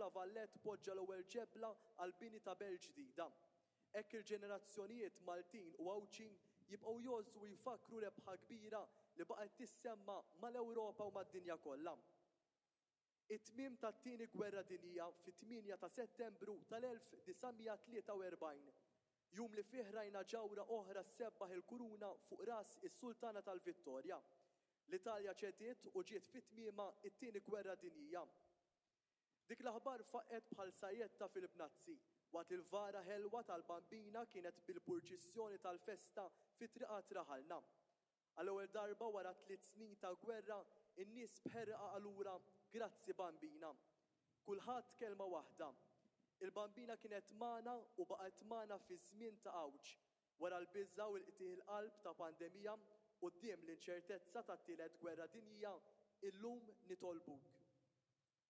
La Vallette poġġa l-ewwel ġebla għall-bini ta' belt ġdida. Hekk il-ġenerazzjonijiet Maltin u Għawdxin jibqgħu jgħożżu u jfakkru rebħa kbira li baqgħet tissemma mal-Ewropa u mad-dinja kollha. It-tmiem tat-Tieni Gwerra Dinjija fit-8 ta' Settembru tal-1943, jum li fih rajna ġawhra oħra ssebbaħ il-kuruna fuq ras is-Sultana tal-Vittorja. L-Italja ċediet u ġiet fi tmiemha t-Tieni Gwerra Dinjija. Dik l-aħbar faqqgħet bħal sajjetta fil-bnazzi, waqt li l-vara ħelwa tal-Bambina kienet bil-purċissjoni tal-festa fi triqat raħalna. Għall-ewwel darba wara tliet snin ta' gwerra, in-nies b'ħerqa qalulha, Grazzi Bambina. Kulħadd kelma waħda. Il-Bambina kienet magħna u baqgħet magħna fi żmien ta' għawġ, wara l-biża' u l-qtigħ il-qalb ta' pandemija, quddiem l-inċertezza tat-tielet gwerra dinjija, illum nitolbuk.